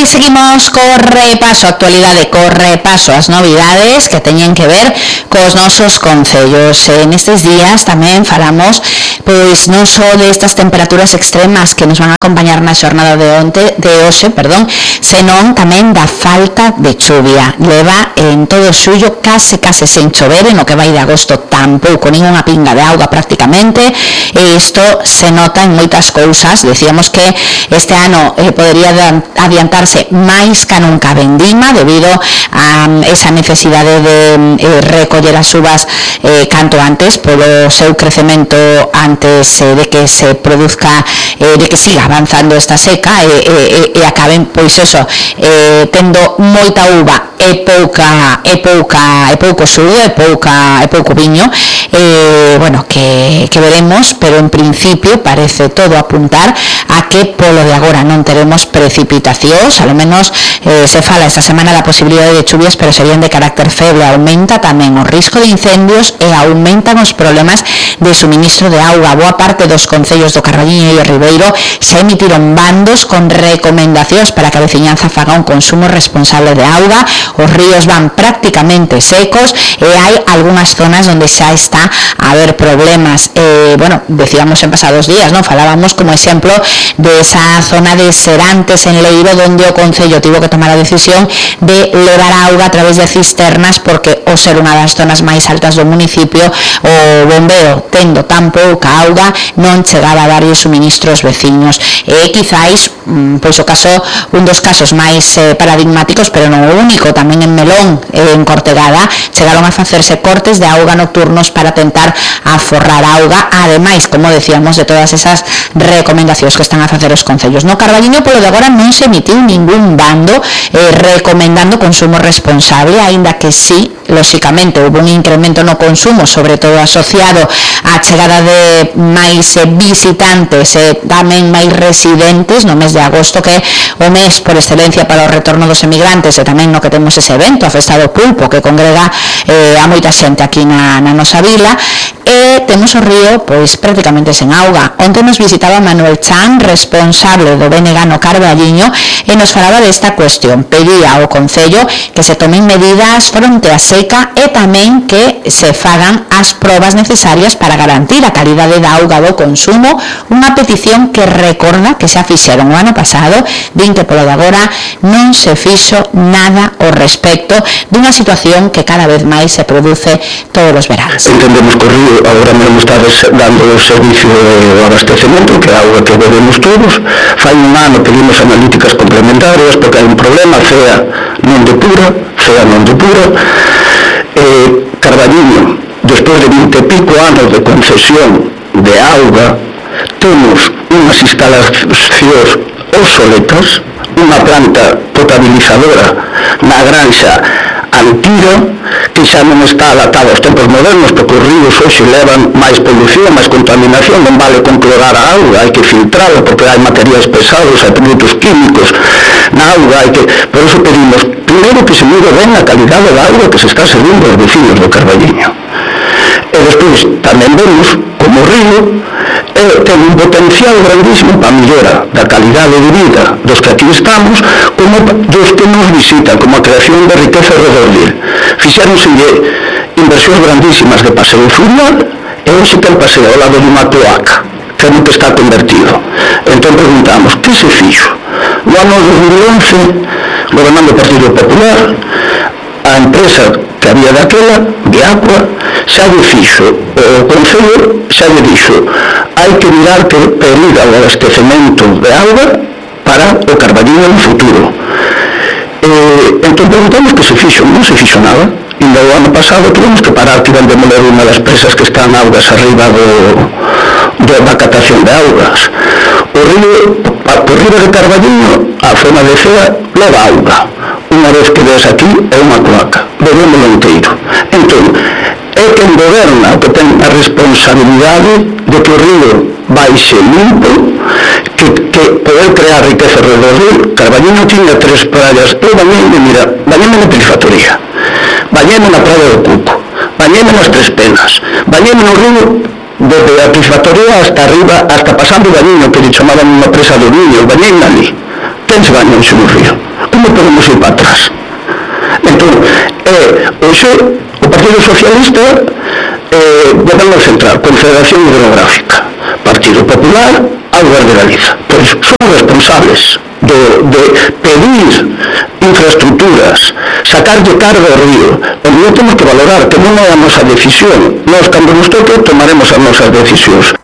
hoy seguimos co repaso, actualidade, co repaso as novidades que teñen que ver cos nosos concellos. Nestes días tamén falamos pois non só destas temperaturas extremas que nos van a acompañar na xornada de hoxe, senón tamén da falta de chuvia. Leva en todo o xullo case sen chover, no que vai de agosto tampouco ningunha pinga de auga prácticamente, e isto se nota en moitas cousas. Decíamos que este ano podería adiantarse máis ca nunca a vendima debido a esa necesidade de recoller as uvas canto antes polo seu crecemento antes de que se produzca, de que siga avanzando esta seca e acaben pois eso tendo moita uva e pouco sugo e pouco viño, bueno, que veremos, pero en principio parece todo apuntar a que polo de agora non teremos precipitacións. A lo menos se fala esta semana da posibilidade de chuvias, pero serían de carácter feble. Aumenta tamén o risco de incendios e aumentan os problemas de suministro de auga. Boa parte dos concellos do Carballiño e o Ribeiro se emitiron bandos con recomendacións para que a veciñanza faga un consumo responsable de auga. Os ríos van prácticamente secos e hai algunhas zonas onde xa está a haber problemas. Bueno, decíamos en pasados días, ¿no? Falábamos como exemplo de esa zona de Serantes en Leiro, donde o Concello tivo que tomar a decisión de levar a auga a través de cisternas, porque ao ser unha das zonas máis altas do municipio, o bombeo tendo tan pouca auga non chegaba a darlle suministros veciños. E quizáis pois o caso, un dos casos máis paradigmáticos, pero non o único. Tamén en Melón, en Cortegada, chegaron a facerse cortes de auga nocturnos para tentar aforrar auga, ademais, como decíamos, de todas esas recomendacións que están a facer os concellos. No Carballiño, polo de agora, non se emitiu ningún bando recomendando consumo responsable, aínda que sí, lóxicamente, houve un incremento no consumo, sobre todo asociado á chegada de máis visitantes e tamén máis residentes no mes de agosto, que é o mes por excelencia para o retorno dos emigrantes, e tamén no que temos ese evento, a Festa do Pulpo, que congrega a moita xente aquí na nosa vila. E temos o río pois prácticamente sen auga. Onte nos visitaba Manuel Chan, responsable do BNG no Carballiño, e nos falaba desta cuestión. Pedía ao Concello que se tomen medidas fronte á seca e tamén que se fagan as probas necesarias para garantir a calidade da auga do consumo, unha petición que recorda que xa fixeron o ano pasado. Din que polo de agora non se fixo nada ao respecto dunha situación que cada vez máis se produce todos os veranos. Entendemos que o río agora mesmo está dando o servicio de abastecemento, que é a auga que bebemos todos. Fai un ano pedimos analíticas complementarias porque hai un problema, CEA non depura. Carballiño, despois de 20 e pico anos de concesión de auga, temos unhas instalacións obsoletas, unha planta potabilizadora na granxa Antira, que xa non está adaptada aos tempos modernos, porque os ríos hoxe levan máis polución, máis contaminación. Non vale con clorar a auga, hai que filtrarla, porque hai materiais pesados, hai produtos químicos na auga. Por eso pedimos, primeiro, que se mire ben a calidade da auga que se está servindo aos vecinos do Carballiño. E despois tamén vemos como o río ten un potencial grandísimo para a mellora da calidade de vida dos que aquí estamos, como dos que nos visitan, como a creación de riqueza alrededor dele. Fixéronselle inversións grandísimas de paseo fluvial, e hoxe ten paseo ao lado de unha cloaca, que é no que está convertido. Entón preguntamos, que se fixo? No ano 2011, gobernando o Partido Popular, a empresa que había daquela, Viacua, xa lle fixo, o Concello xa lle dixo, hai que mirar que periga o abastecemento de auga para o Carballiño no futuro. Entón preguntamos que se fixo. Non se fixo nada. E o ano pasado tuvemos que parar, que iban demoler unha das presas que están augas arriba da catación de augas. O río, por riba de Carballiño, a zona de Cea leva auga. Unha vez que ves aquí é unha cloaca, bebémolo inteiro. Entón, é quen goberna o que ten a responsabilidade de que o río baixe limpo, que poder crear riqueza alrededor dele. Carballiño tiña 3 praias. Eu bañeme na Pilifactoría, bañeme na Praia do Cuco, bañeme nas Tres Penas, bañeme no río desde a Pilifactoría hasta arriba, hasta pasando o Bañiño, que lle chamaban unha presa do viño, bañeme ali. Quen se baña hoxe no río? non podemos ir para atrás. Entón, hoxe o Partido Socialista Goberno Central, Confederación Hidrográfica, Partido Popular, Augas de Galiza. Pois son responsables de pedir infraestructuras, sacar de carga ao río, onde non temos que valorar, que non é a nosa decisión. Nós, cando nos toque, tomaremos as nosas decisións.